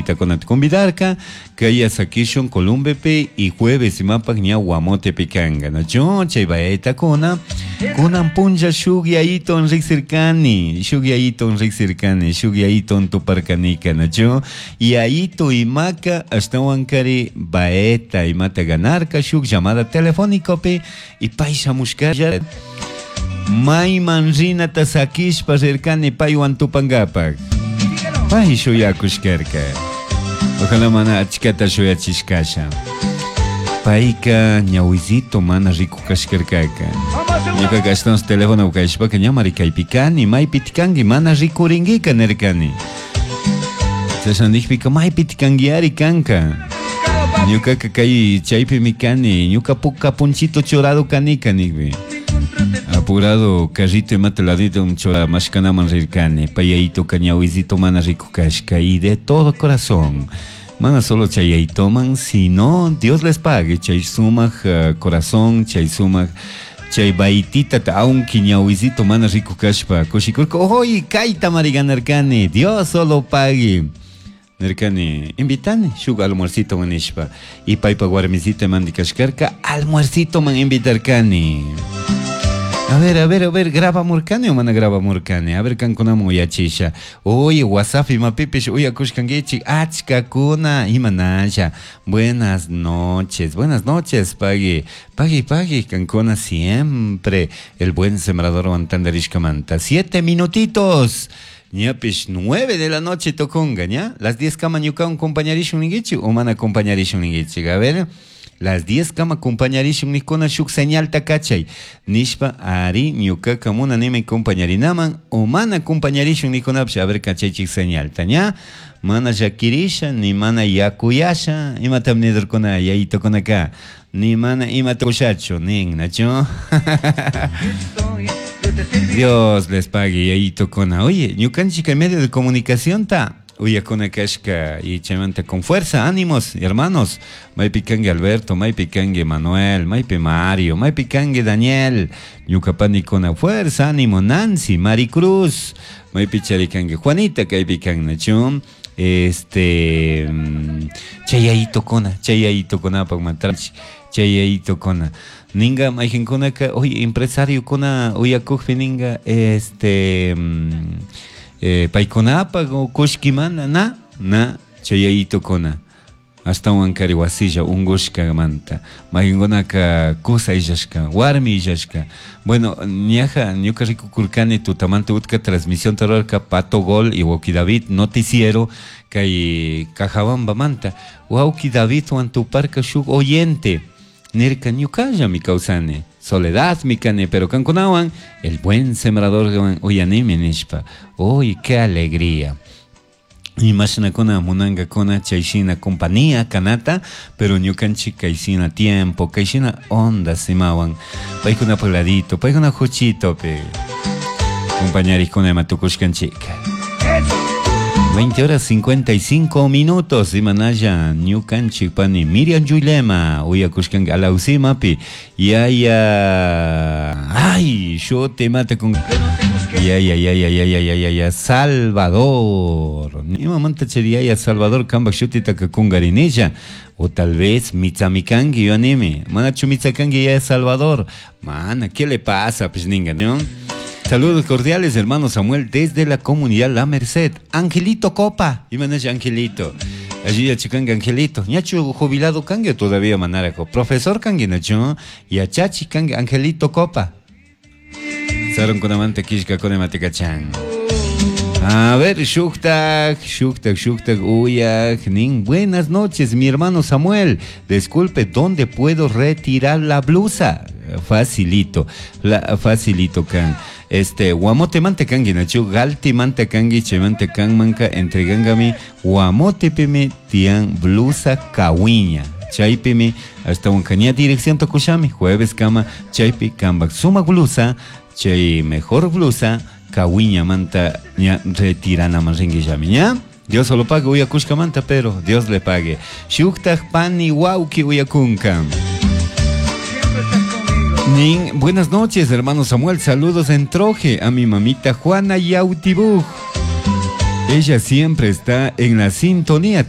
Baititakunata convidarka, kaya sakishun Columbepi y jueves imapak ña Guamotepi kanka, nachu? Chay baitakuna, kunan punlla shuk yayiton riksirkani, shuk yayiton riksirkani, shuk yayiton tuparkanika, nachu? Yayito imaka ashtawankari baeta imata ganarka shuk llamada telefónicopi y pay shamushkalla mayman rinata sakishpa rirkani paywan tupankapak. Pay shuyakushkarka. Ojalá mana achkata shuyachishkasha. Payka ñawisito mana rikukashkarkaka. Ñukaqa ashtawan teléfono kashpaka ña kaypi kani, maypi kanki mana rikurinkiqa nirkani. Chashna nijpika maypi kankiari kanka. Ñukaqa kay chaypimi kani, ñuka puka punchito churado kanika nijpi. Apurado carrito imata ladito chura mashkanaman rirkani, payayitoka ñawisito mana rikukashka y de todo corazón. Mana solo chayayitoman, sino Dios les pague, chay sumaq corazón, chay sumaq chay baitita aunque ñawisito mana rikukashpa kushikurka, oy kayta mari ganarkani, Dios solo pague. Nirkani, invitani shuk almuercito man nishpa. Y paypa warmisita mandikashkarka almuercito man invitarkani. A ver, a ver, a ver, grabamurkani o mana grabamurkani? A ver, kankunaman uyachisha. Oye, WhatsApp imapipish uyakushkankichik achkakuna imanasha. Buenas noches, buenas noches, pagui. Pagui, pagui, kankuna siempre. El buen sembrador tandarishkamanta. 7 minutitos. Ñapish 9 de la noche toconga, ¿ya? Las 10 kama ñukawan compañarishun ninkichik o mana compañarishun ninkichik. A ver, las 10 kama compañarishun nikuna shuk señalta kachay. Nishpa ari ñukaka munanimi compañarinaman o mana compañarishun nikunapish. A ver, kachaychik señalta, ¿ya? Mana llakirisha, ni mana yakuyasha, imatam nidurkuna yayitukunaka, ni mana imata kushachu, nin, nachu? Dios les pague, yayitokuna. Oye, ñukanchik en medio de comunicación ta, uyakuna kashka y chaymanta con fuerza, ánimos, hermanos. Maypi kanki Alberto, maypi kanki Manuel, maypi Mario, maypi kanki Daniel, ñukapanikuna, fuerza, ánimo, Nancy, Maricruz, maypi charikanki Juanita, kaypi kan, nachu? Este, chayayitokuna, chayayitokunapak matrach, chayayitokuna. Ninga mayqinkunaka, oye, empresariokuna uyakukpi ninga, este, paykunapak o kushkimanta, na, na, chayayitokuna. Ashtawan kari wasilla ungushkamanta. Mayqinkunaka kusa illashka, warmi illashka. Bueno, ñaja, ñuka rikukurkani tutamanta utka transmisión tararka Pato Gol y Wauki David noticiero kay Cajabambamanta. Wauki David tuparka shuk oyente. Nirka ñukallami kawsani, soledad mi kani, pero kankunawan el buen sembrador uyanimi nishpa. Uy, qué alegría. Imashinakuna munankakuna chayshina compañía kanata, pero ñukanchik kayshina tiempo, kayshina onda simawan, paykunapa ladito, paykuna juchito pe compañarikuna ima tukushkanchik. 20 horas 55 minutos, imanalla ñukanchik pani Miriam Yulema, uyakushkanka alawsimapi, yaya, ay, shuti mata con ya, ya, ya, ya, ya, ya, ya, ya, ya, Salvador. Imamanta chari yaya Salvador kambak shutitaka kungarinilla. O tal vez mitzamikanki yo anime. Manachu mitzakanki ya Salvador. Mana, ¿qué le pasa? Pues ninga, ¿no? Saludos cordiales, hermano Samuel, desde la comunidad La Merced. Angelito Copa. Imanalla Angelito. Allí ya chikanga Angelito. Ñachu jubilado kangue todavía manarajo. Profesor kangue nacho. Yachachi kangue Angelito Copa. Sarunkunamanta kishka kunamatikachan. A ver, shuktak, shuktak, shuktak, uyak, nin. Buenas noches, mi hermano Samuel. Disculpe, ¿dónde puedo retirar la blusa? Facilito, la, facilito kan. Este, guamote mante kangi nachu, galti mante kangi, chemante kan manka, entregangami, guamote pime tian blusa kawiña. Chaypimi, hasta un caña dirección tokushami, jueves kama, chaypi kambak suma blusa, chay mejor blusa, kawiña manta ña retirana manringuillami, ña. Dios solo pague uyakushka manta, pero Dios le pague. Shuktaj pani wauki uyakunka. Nin, buenas noches, hermano Samuel. Saludos en Troje a mi mamita Juana Yautibuj. Ella siempre está en la sintonía.